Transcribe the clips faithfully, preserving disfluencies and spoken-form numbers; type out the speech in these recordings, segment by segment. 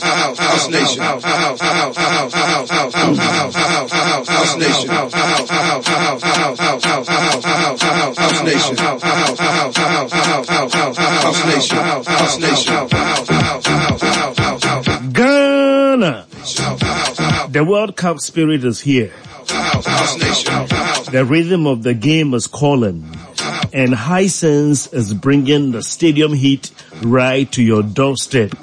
House, House Nation, House, House, House, House, House, House, House, House, House, House, House Nation, House, House, House, House, House, House, House, House, House, House, House Nation, House, House, House, House, House, House, House, House Nation, House, House Nation, House, House, House, House, House, House, House, Ghana. House, House, House, The World Cup spirit is here. House, House Nation, House, The rhythm of the game is calling. And Hisense is bringing the stadium heat right to your doorstep.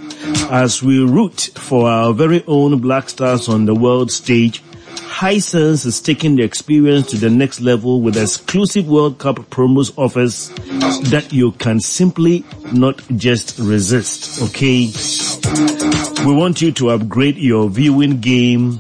As we root for our very own Black Stars on the world stage, Hisense is taking the experience to the next level with exclusive World Cup promos offers that you can simply not just resist. Okay? We want you to upgrade your viewing game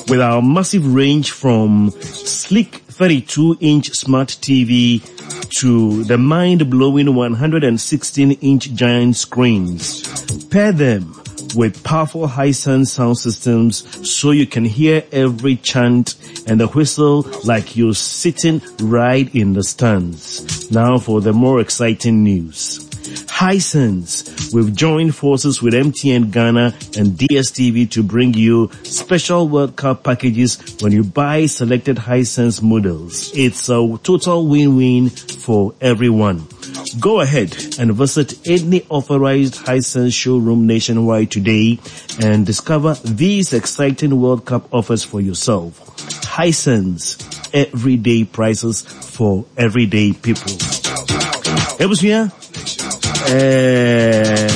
with our massive range from sleek thirty-two inch smart T V to the mind-blowing one hundred sixteen inch giant screens. Pair them with powerful Hisense sound systems so you can hear every chant and the whistle like you're sitting right in the stands. Now for the more exciting news. Hisense, we've joined forces with M T N Ghana and D S T V to bring you special World Cup packages when you buy selected Hisense models. It's a total win-win for everyone. Go ahead and visit any authorized Hisense showroom nationwide today and discover these exciting World Cup offers for yourself. Hisense, everyday prices for everyday people. Ebusua, eh,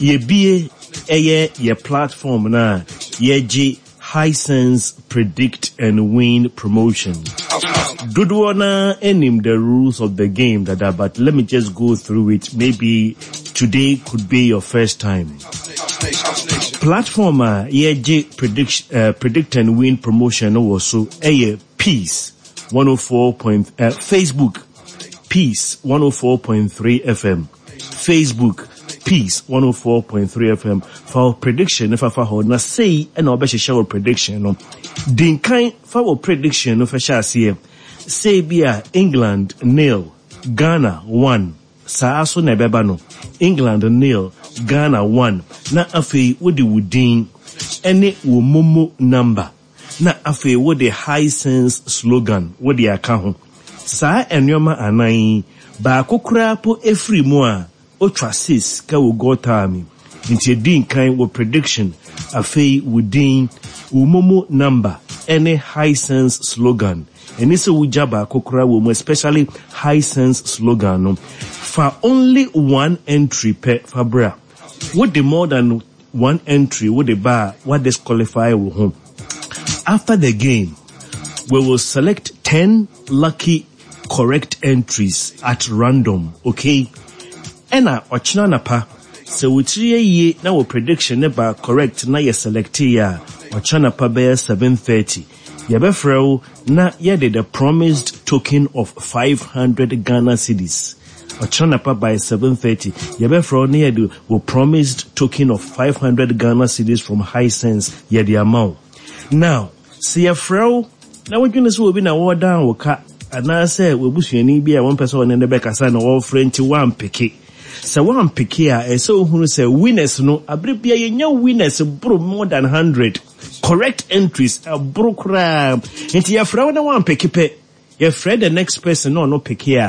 yɛbie ɛyɛ yɛ platform na yɛgye Hisense Predict and Win promotion. Dodoɔ na anim the rules of the game dada, but let me just go through it. Maybe today could be your first time. Platform a yɛgye predict, uh, predict and Win promotion no wɔ so ɛyɛ Peace one oh four point, uh, Facebook, Peace one oh four point three F M. Facebook, Peace one oh four point three F M. Fa wo prediction no fafa hɔ na sei ɛna wɔbɛhyehyɛ wo prediction no. Di nkan fa wo prediction no fa hyɛ aseɛ. Sei bi a England nil, Ghana one. Saa so na ɛbɛba no. England nil, Ghana one. Na afei wode wo din ɛne wo MoMo number. Na afei wode Hisense slogan wode aka ho. Saa nneɛma anan yi, baako koraa po efiri mu a otwa six ka wo gɔtaa mi. Nti edi nkan wɔ prediction, afei wo din, wo MoMo number ɛne Hisense slogan. Ɛni sɛ wogya baako koraa wɔ mu, especially Hisense slogan no. Fa only one entry pɛ fa bra. Wode more than one entry wode ba a, wa disqualify wo ho. After the game, we will select ten lucky correct entries at random, okay? Ɛna ɔkyena napa, sɛ wotiri yɛ yie na wɔ prediction ne ba correct na yɛ select yɛ a, ɔkyena napa bɛyɛ seven thirty. Yɛbɛfrɛ wo na yɛde the promised token of five hundred Ghana cedis. Ɔkyena napa by seven thirty, yɛbɛfrɛ wo na yɛde wɔ promised token of five hundred Ghana cedis from Hisense yɛde ama wo. Now, sɛ yɛfrɛ wo na wodwene sɛ obi na wɔdan wo ka anaasɛ wabusuani bi a wɔmpɛ sɛ ɔne ne bɛkasa na wɔfrɛ nti woampick. Sɛ woampick a, ɛsɛ wohunu sɛ winners no, abere bia yɛnya winners boro more than one hundred correct entries, ɛboro koraa. Nti yɛfrɛ wo na woampick pɛ, yɛfrɛ the next person na ɔno pick a